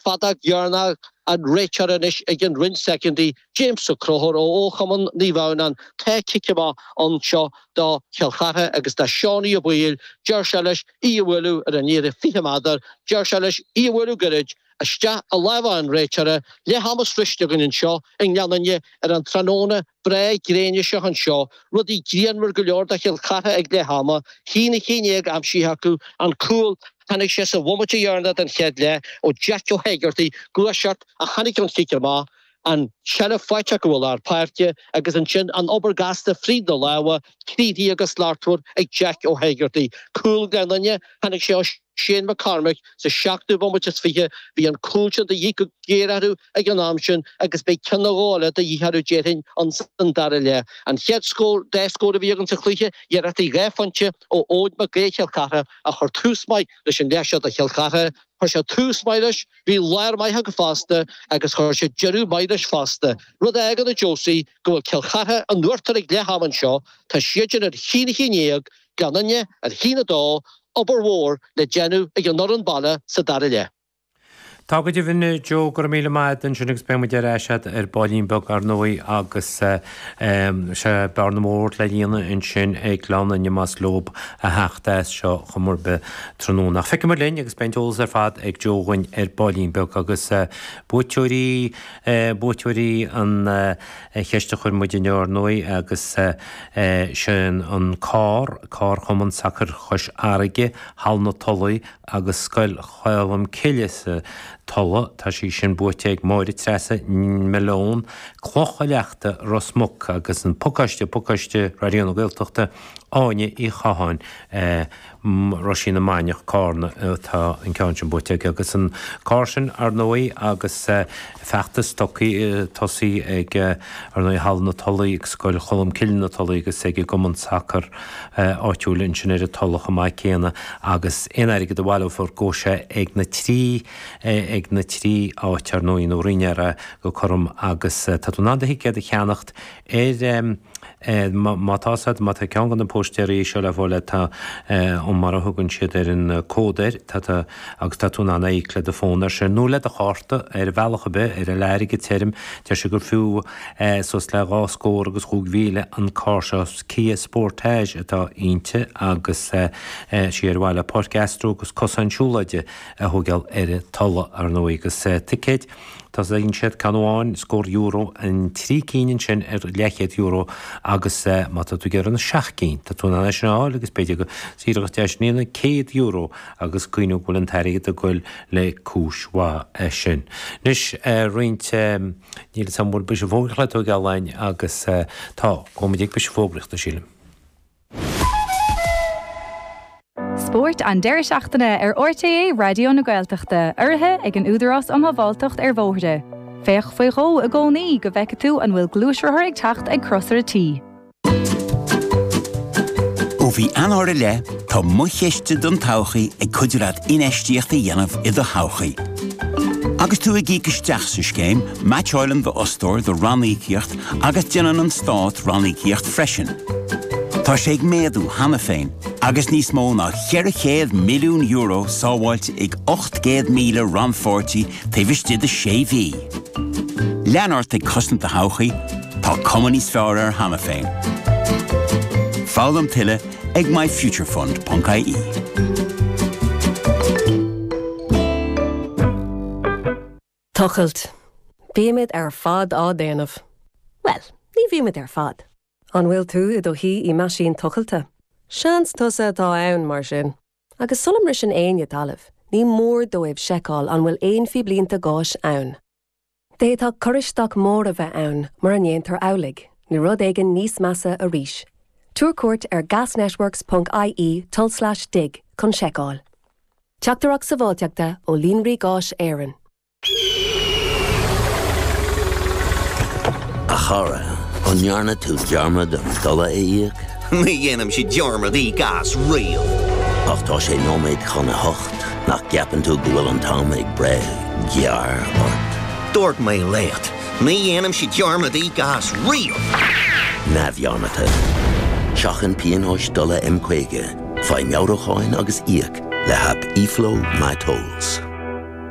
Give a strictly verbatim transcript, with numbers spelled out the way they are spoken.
Feadóg dheireanach an réiteoir anois ag an roinn soicind, James Ó Conchúir ó Chumann Naomh Adhamhnáin. Tá cic amach anseo do Chill Chartha agus do Seánie Ó Baoill. Deir sé leis í a bhualadh ar an liathróid fiche méadar, deir sé leis í a bhualadh gairid isteach i lámha an réiteora. Leath ama sroichte againn anseo i nGleann Fhinne ar an tráthnóna breá gréine seo anseo. Rudaí grianmhar go leor do Chill Chartha ag leath ama, a haon a haon déag aimsithe acu, an cúl, tháinig sé sa bhomaite dheireanach den chéad leath ó Jack Ó hÉigeartaigh, gluaiseacht a tháinig ón chic amach, an tseilbh faighte acu i lár páirce agus ansin an obair gasta fríd na lámha, críochnaithe go slachtmhar ag Jack Ó hÉigeartaigh. Cúl Ghleann Fhinne, tháinig sé ó Shane McCormick sa seachtú bomaite is fiche. Bhí an cúl sin de dhíth go géar orthu ag an am sin agus beidh ceann nó dhó eile de dhíth orthu déarfainn ins an dara leath. An chéad scór, dá scór a bhí againn sa chluiche, iarrachtaí dhá phointe ó Eoin Mac Aoidh Chill Chartha a chuir tús maith leis an leath seo do Chill Chartha. Chuir sé tús maith leis, bhí lár maith acu fosta agus chuir sé deireadh maith leis fosta. Rud a fhágann a Josie go bhfuil Cill Chartha in uachtar ag leath ama anseo, tá siad ar a haon a haon déag, Gleann Fhinne ar a haon a dó, obair mhór le déanamh ag an fhoireann baile sa dara leath. Tá go deimhin Joe go raibh míle maith agat ansin agus beidh muid ar ais agat ar baillín beag ar ndóigh agus sé bearna mór le líonadh ansin ag Gleann Fhinne más leob a theacht as seo chomh mór be tráthnóna. Ach feicfidh muid linn agus beidh an t-eolas ar fad ag Joe dhúinn ar baillín beag agus buaiteoirí buaiteoirí an cheist a chuir muid inniu ar ndóigh agus sin an carr, carr Chumann Sacair Chois Fharraige, Halla na Tulaí agus Scoil Cholm Cille sa Tulaigh. Tá sí sin buaite ag Máire Treasa Malone, Cloch a Leachta Ros Muc agus an pacáiste pacáiste Raidió na Gaeltachta Áine Uí Chatháin Roisín na Mainiach Carna atá an ceann sin buaite aige agus an carr sin ar ndóigh agus feachtas tosaithe ag ar ndóigh Halla na Tulaí ag Scoil Cholm Cille na Tulaí agus ag an gCumann Sacair áitiúil ansin ar an Tulaigh chomh maith céanna agus aon airgead a bhaileofar go sé ag na trí ag na trí áit ar ndóigh nó roinnear go cothrom agus tá tú in ann do thicéad a cheannacht ar má tá sad má tá ceann de na póistéirí seo le fáil tá um mar a thugann siad ar an cód air tá agus tá tú in ann íoc le do fón ar sin nó le do chárta ar bhealach ar bith ar an airgead tirim deir sé gur fiú suas le dhá scór agus chúig mhíle an carr seo Kia Sportage atá inti agus sí ar mhaithe le Páirc Astro agus cosán siúlóide a thógáil ar an Tulaigh ar ndóigh agus ticéid Tá siad ceann amháin scór euro an trí cinn ansin ar leathchéad euro agus má tá tú ag iarraidh na seacht gcinn tá tú in ann sin a fháil agus b'fhéidir go saoireacht deis níonna céad euro agus cuimhnigh go bhfuil an t-airgead ag goil le cúis mhaith é sin. Anois roinnt níl san bhfuil briseadh fógraíochta le tógáil agus tá gabhfaidh muid ag briseadh fógraíochta sílim. Spórt an deireadh seachtaine ar RTÉ Raidió na Gaeltachta, urraithe ag an Údarás um Shábháilteacht ar Bhóithre. Féach faoi dhó i gcónaí go bhfeice tú an bhfuil gluaisrothar ag teacht ag crosaire tí. Ó mhí Eanáir i leith tá Mo Chiste don Todhchaí ag cuidiú leat infheistíocht a dhéanamh i do thodhchaí. Agus tú ag íoc isteach sa scéim, meaitseálann d'fhostóir do ranníocaíocht agus déanann an stát ranníocaíocht freisin. Tá sé ag méadú cheana féin, agus níos mó ná ceithre chéad milliún euro sábháilte ag ocht gcéad míle rannpháirtí taobh istigh de sé mhí. Lean ort ag cosaint do thodhchaí, tá cuma níos fearr air cheana féin. Foghlaim tuilleadh ag myfuturefund.ie. Tochailt. Bímid ar fad á déanamh. Well, ní bhímid ar fad. An bhfuil tú i do shuí i meaisín tochailte? Seans tusa atá ann mar sin. Agus sula mbriseann éinne talamh, ní mór dóibh seiceáil an bhfuil aon phíblínte gáis ann. D'fhéadfadh cur isteach mór a bheith ann mura ndéantar amhlaidh, nó rud éigin níos measa arís. Tabhair cuairt ar gasnetworks.ie tulslais dig chun seiceáil. Teachtaireacht sábháilteachta ó Líonraí Gáis Éireann. A chara, an ndearna tú dearmad an dola a íoc? Ní dhéanaimse dearmad íoc as riamh. Ach tá sé nóiméad chun a hocht nach gceapann tú go bhfuil an t-am ag breith gearr ort. Dúirt mé leat, ní dhéanaimse dearmad íoc as riamh. Neamhdhearmadta. Seachain pionóis dola M caoga, faigh meabhrúcháin agus íoc le haip eFlow MyTolls.